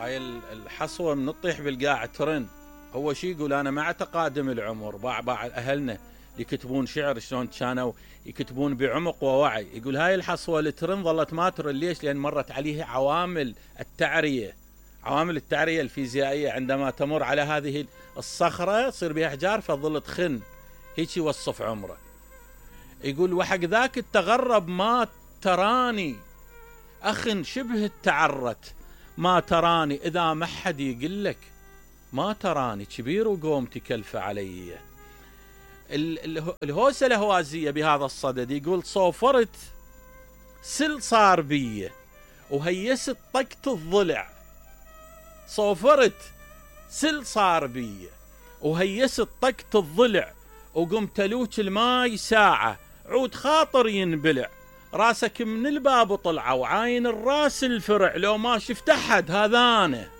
هاي الحصوة من تطيح بالقاع ترن. هو شي يقول أنا مع تقادم العمر بعض أهلنا يكتبون شعر شلون كانوا يكتبون بعمق ووعي، يقول هاي الحصوة اللي ترن ظلت ما ترن. ليش؟ لأن مرت عليها عوامل التعرية، عوامل التعرية الفيزيائية. عندما تمر على هذه الصخرة تصير بها أحجار فظل تخن، هيك يوصف عمره. يقول وحق ذاك التغرب ما تراني أخ شبه التعرت، ما تراني إذا ما حد يقلك ما تراني كبير وقومتي كلفة علي. الهوسة الهوازية بهذا الصدد يقول صوفرت سل صار بيه وهيست طقت الضلع، صوفرت سل صار بيه وهيست طقت الضلع، وقمت لوك الماي ساعة عود خاطر ينبلع، راسك من الباب طلع وعاين الراس الفرع، لو ما شفت أحد هذا أنا.